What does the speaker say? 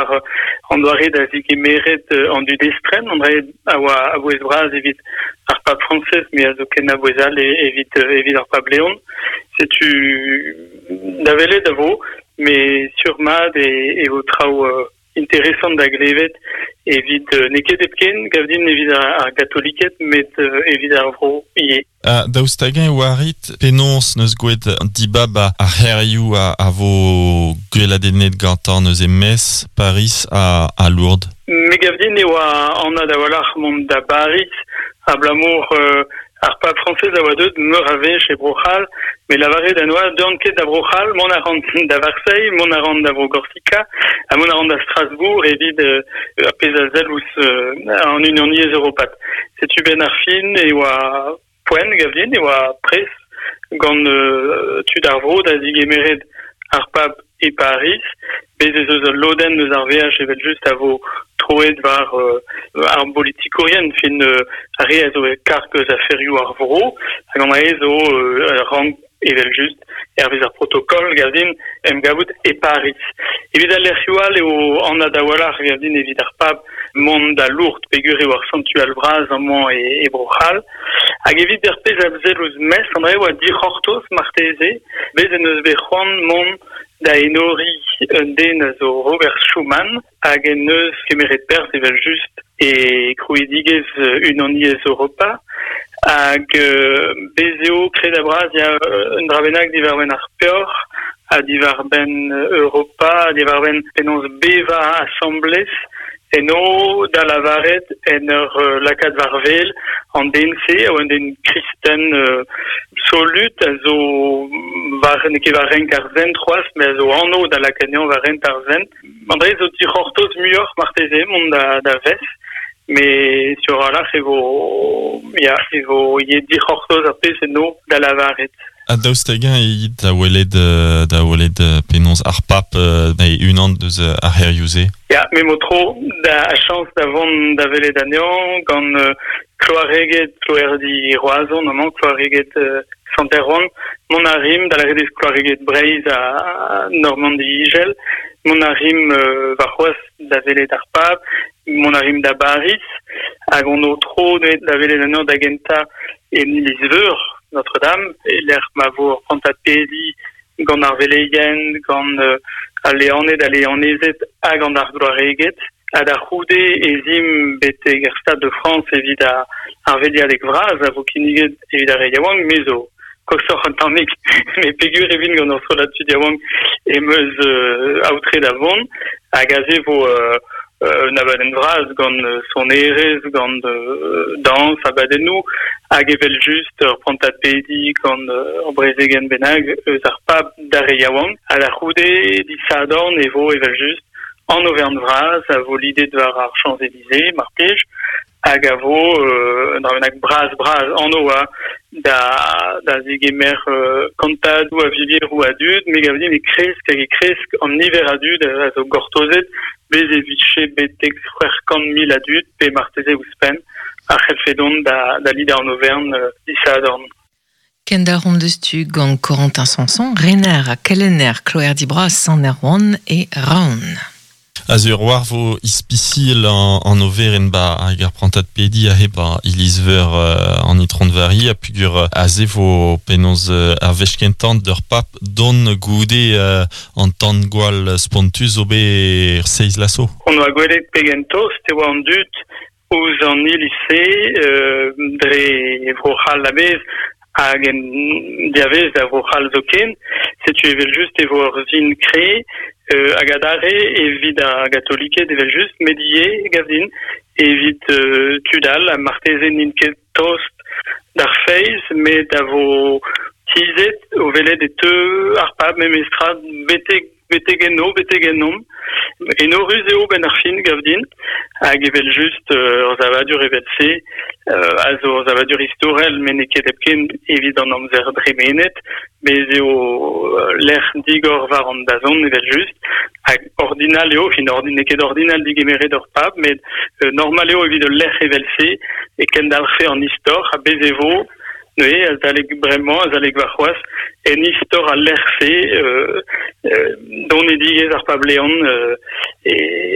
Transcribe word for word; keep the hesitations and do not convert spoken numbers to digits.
war an doare da zigemeret an dud estren, an dra a oa a-bouez bras evit ar pab Frañsez, met a zo ken a-bouez all evit, evit ar pab Leon. Setu da welet a vo, met sur-mat e, e vo traoù euh, interesant da glevet evit euh, n'eo ket hepken, gav din evit ar, ar gatoliked, met euh, evit ar vro ivez. Uh, daoust hag-eñ e oarit penaos neus gwraet dibab ar c'hêrioù a, a vo gweladennet gantañ neuze Metz, Paris ha, ha Lourdes? Me gav din e oa anat a-walc'h mont da Bariz, abalamour euh, ar pab Frañsez a oa deuet meur a wech e Bro-C'hall, met lavaret en doa deuan ket da Bro-C'hall, mont a ran da Varseilh, mont a ran da Vro-Gorsika, ha mont a ran da Strasbourg evit euh, ar pezh a sell ouzh euh, an Unaniezh Europat. Setu benn ar fin e oa poent, gav din, e oa pres gant euh, tud ar vro da zigemeret ar pab e Pariz, bez ez eus ul lodenn eus ar veaj evel just a vo troet war euh, ar bolitikourien, fin euh, ar re a zo e karg eus aferioù ar vro, hag an re zo euh, rank evel just hervez ar protokol, gav din, em gavout e Pariz. Evit al lec'hioù all eo anat a-walc'h gav din evit ar pab mont da Lourdes, peogwir eo ar santual bras amañ e, e Bro-C'hall. Hag evit ar pezh a sell ouzh Metz, an dra oa dic'hortoz marteze, bez en deus bet c'hoant mont da enoriñ un den a zo Robert Schuman hag en deus kemeret perzh evel just e krouidigezh Unaniezh Europa hag euh, bez eo kredabl bras ya un dra bennak diwar-benn ar peoc'h ha diwar-benn Europa, ha diwar-benn penaos bevañ asambles eno da lavaret en ur euh, lakaat war-wel an den-se a oa un den kristen euh, solut a zo war n'eo ket war renk ar sent c'hoazh met a zo anv da lakaat anezhañ war renk ar sent. An dra zo dic'hortoz muioc'h marteze mont da, da Vetz, met sur a-walc'h e vo ya e vo ivez dic'hortoz ar pezh eno da lavaret. Ha daoust hag-eñ e it da welet da welet penaos ar pab e unan deus ar c'hêrioù-se? Ya, me 'mo tro da chañs da vont da welet anezhañ gant euh, kloareged kloerdi Roazhon amañ, kloareged euh, Sant-Erwan, mont a rimp da lavaret eo kloareged Breizh ha Normandi Izel, mont a rimp euh, warc'hoazh da welet ar pab, mont a rimp da Bariz, hag hon o tro da welet anezhañ da gentañ en iliz-veur Notre-Dame, e lec'h ma vo ur prantad pediñ gant ar veleien, gant euh, al leaned, al leanezed hag gant ar gloareged. Ha da c'houde ez imp betek ar Stade de France evit ar, ar veilhadeg vras a vo kinniget evit ar re yaouank, me zo koshoc'h un tammig, met peogwir e vin gant ur strollad tud yaouank em eus euh, aotre da vont, hag aze vo euh, un abadenn vras gant sonerezh, gant euh, dañs, abadennoù, hag evel just ur prantad pediñ gant ur brezegenn bennak eus ar pab d'ar re yaouank. Ha da c'houde disadorn e vo evel just an overenn vras a vo lidet war ar Champs-Élysées, mar plij, hag a vo euh, un dra bennak bras bras anv oa da, da zegemer euh, kantadoù a vilieroù a dud, me gav din e kresk hag e kresk an niver a dud a zo gortozet, bez e vije betek c'hwec'h kant mil a dud, pe marteze ouzhpenn, a c'hellfe dont da, da lidañ an overenn euh, disadorn. Kendalc'homp diouzhtu gant Corentin Sanson, rener ha kelenner Kloerdi Bras Sant-Erwan e Roazhon. A sur war vo ispisial an, an overenn ba hag ar prantad pediñ aze ba iliz-veur euh, an Itron Vari a peogwir aze vo penaos euh, ar wech kentañ d'ur pab dont goude euh, an tan-gwall spontus zo bet seizh vloaz zo. On oa gwelet pegen tost e oa an dud ouzh an iliz-se euh, dre Vro-C'hall a-bezh hag en diavez da Vro-C'hall zoken. Setu evel just e vo ur sin kreñv euh, hag adarre evit ar gatoliked evel just, met ivez, gav din, evit euh, tud all, ha marteze n'int ket tost d'ar feiz, met a vo tizhet o welet e teu ar pab memestra betek betek enno, betek ennomp. Enorus eo benn ar fin, gav din, hag evel just euh, ur savadur evel-se, euh, a zo ur savadur istorel, met n'eo ket hepken evit an amzer dremenet, bez eo lec'h digor war an dazont evel just, hag ordinal eo, fin ordin, n'eo ket ordinal digemeret ur pab, met euh, normal eo evit ul lec'h evel-se, e kendalc'hfe an istor, ha bez e vo, neuze, azalek bremañ, azalek warc'hoazh, en istor al lec'h-se, euh, euh, donedigezh ar pab Leon, euh, e,